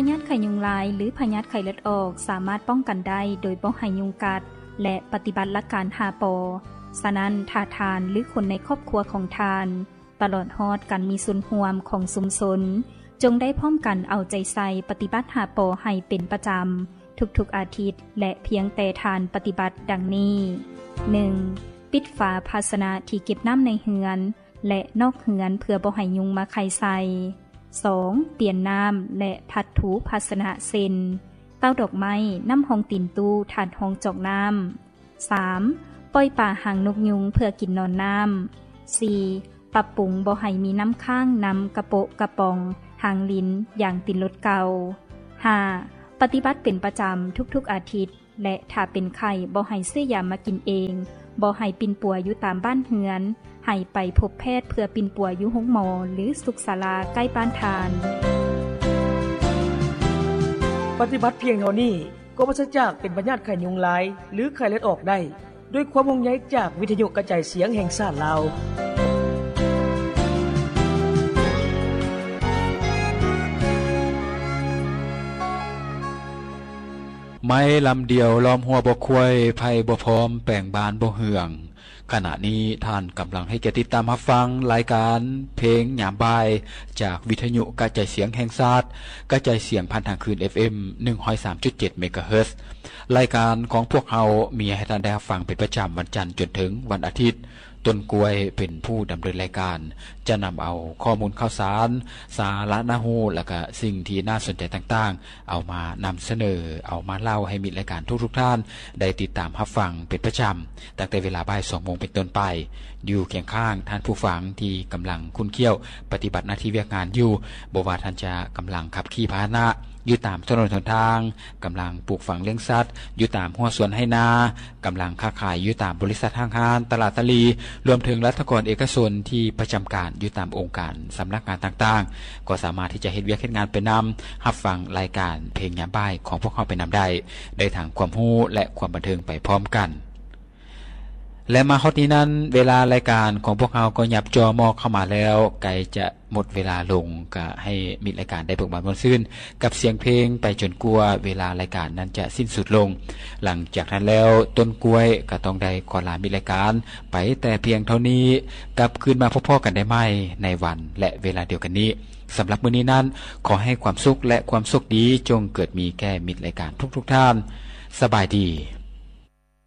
ພະຍາດໄຂ້ຍຸງລາຍ ຫຼື ພະຍາດໄຂ້ເລືອດອອກ ສາມາດປ້ອງກັນໄດ້ໂດຍບໍ່ໃຫ້ຍຸງກັດ ແລະ ປະຕິບັດຫຼັກການຫ້າ ປ. ສະນັ້ນ, ຖ້າທ່ານ ຫຼື ຄົນໃນຄອບຄົວຂອງທ່ານ ຕະຫຼອດຮອດການມີສ່ວນຮ່ວມຂອງຊຸມຊົນ, ຈົ່ງໄດ້ພ້ອມກັນເອົາໃຈໃສ່ປະຕິບັດຫ້າ ປ ໃຫ້ເປັນປະຈຳທຸກໆອາທິດ ແລະ ພຽງແຕ່ທ່ານປະຕິບັດດັ່ງນີ້: ໜຶ່ງ, ປິດຝາພາຊະນະທີ່ເກັບນ້ຳໃນເຮືອນ ແລະ ນອກເຮືອນເພື່ອບໍ່ໃຫ້ຍຸງມາໄຂ່ໃສ່. ສອງ, ປ່ຽນນ້ຳ ແລະ ພັດຖູພາຊະນະ ເຊັ່ນ ເຕົ້າດອກໄມ້, ນ້ຳຮອງຕີນຕູ້, ຖາດຮອງຈອກນ້ຳ. ສາມ, ປ່ອຍປາຫາງນົກຍຸງເພື່ອກິນນອນນ້ຳ. ສີ່, ປັບປຸງບໍ່ໃຫ້ມີນ້ຳຄ້າງນຳກະໂປະກະປ໋ອງ, ຮາງລິນ, ຢາງຕີນລົດເກົ່າ. ຫ້າ, ປະຕິບັດເປັນປະຈຳທຸກໆອາທິດ ແລະ ຖ້າເປັນໄຂ້ບໍ່ໃຫ້ຊື້ຢາມາກິນເອງ, ບໍ່ໃຫ້ປິ່ນປົວຢູ່ຕາມບ້ານເຮືອນ, ໃຫ້ໄປພົບແພດເພື່ອປິ່ນປົວຢູ່ໂຮງໝໍ ຫຼື ສຸກສາລາໃກ້ບ້ານທ່ານ. ປະຕິບັດພຽງເທົ່ານີ້ ກໍປາສຈາກເປັນພະຍາດໄຂ້ຍຸງລາຍ ຫຼື ໄຂ້ເລືອດອອກໄດ້ ດ້ວຍຄວາມຫ່ວງໃຍຈາກວິທະຍຸກະຈາຍສຽງແຫ່ງຊາດລາວ. ໄມ້ລຳດຽວລ້ອມຫົວບໍ່ຄວາຍ, ໄພບໍ່ພ້ອມແປງບ້ານບໍ່ເຮືອງ. ຂະນະນີ້ທ່ານກຳລັງໃຫ້ກຽດຕິດຕາມຮັບຟັງລາຍການເພງຍາມບ່າຍ ຈາກວິທະຍຸກະຈາຍສຽງແຫ່ງຊາດ, ກະຈາຍສຽງຜ່ານທາງຄື້ນ ເອັຟເອັມ ໜຶ່ງຮ້ອຍສາມຈຸດເຈັດ ເມກາເຮີດ. ລາຍການຂອງພວກເຮົາມີໃຫ້ທ່ານໄດ້ຮັບຟັງເປັນປະຈຳວັນຈັນຈົນເຖິງວັນອາທິດ. ຕົ້ນກ້ວຍເປັນຜູ້ດຳເນີນລາຍການ, ຈະນຳເອົາຂໍ້ມູນຂ່າວສານ, ສາລະໜ້າຮູ້ ແລະ ກະສິ່ງທີ່ໜ້າສົນໃຈຕ່າງໆ ເອົາມານຳສະເໜີ, ເອົາມາເລົ່າໃຫ້ມິດລາຍການທຸກໆທ່ານໄດ້ຕິດຕາມຮັບຟັງເປັນປະຈຳ, ຕັ້ງແຕ່ເວລາບ່າຍສອງໂມງເປັນຕົ້ນໄປ, ຢູ່ຄຽງຂ້າງທ່ານຜູ້ຟັງທີ່ກຳລັງຂຸ້ນຂ້ຽວປະຕິບັດໜ້າທີ່ວຽກງານຢູ່, ບໍ່ວ່າທ່ານຈະກຳລັງຂັບຂີ່ພາຫະນະຢູ່ຕາມຖະໜົນຫົນທາງ, ກຳລັງປູກຝັງລ້ຽງສັດຢູ່ຕາມຮົ້ວສວນໄຮ່ນາ, ກຳລັງຄ້າຂາຍຢູ່ຕາມບໍລິສັດຫ້າງຮ້ານ, ຕະຫຼາດຕະຫຼີ, ລວມເຖິງລັດຖະກອນເອກະຊົນທີ່ປະຈຳການຢູ່ຕາມອົງການສຳນັກງານຕ່າງໆ, ກໍສາມາດທີ່ຈະເຮັດວຽກເຮັດງານໄປນຳ, ຮັບຟັງລາຍການເພງຍາມບ່າຍຂອງພວກເຮົາໄປນຳໄດ້, ໄດ້ທັງຄວາມຮູ້ ແລະ ຄວາມບັນເທີງໄປພ້ອມກັນ. ແລະ ມາຮອດນີ້ນັ້ນ, ເວລາລາຍການຂອງພວກເຮົາກໍຫຍັບຈໍ່ມອກເຂົ້າມາແລ້ວ, ໃກ້ຈະ ໝົດເວລາລົງ, ກະໃຫ້ມິດລາຍການໄດ້ເບີກບານມ່ວນຊື່ນກັບສຽງເພງໄປຈົນກວ່າເວລາລາຍການນັ້ນຈະສິ້ນສຸດລົງ. ຫຼັງຈາກນັ້ນແລ້ວ, ຕົ້ນກ້ວຍກະຕ້ອງໄດ້ຂໍລາມິດລາຍການໄປແຕ່ພຽງເທົ່ານີ້. ກັບຄືນມາພົບພໍ້ກັນໄດ້ໃໝ່ໃນວັນ ແລະ ເວລາດຽວກັນນີ້. ສຳລັບມື້ນີ້ນັ້ນ, ຂໍໃຫ້ຄວາມສຸກ ແລະ ຄວາມໂຊກດີຈົ່ງເກີດມີແກ່ມິດລາຍການທຸກໆທ່ານ. ສະບາຍດີ.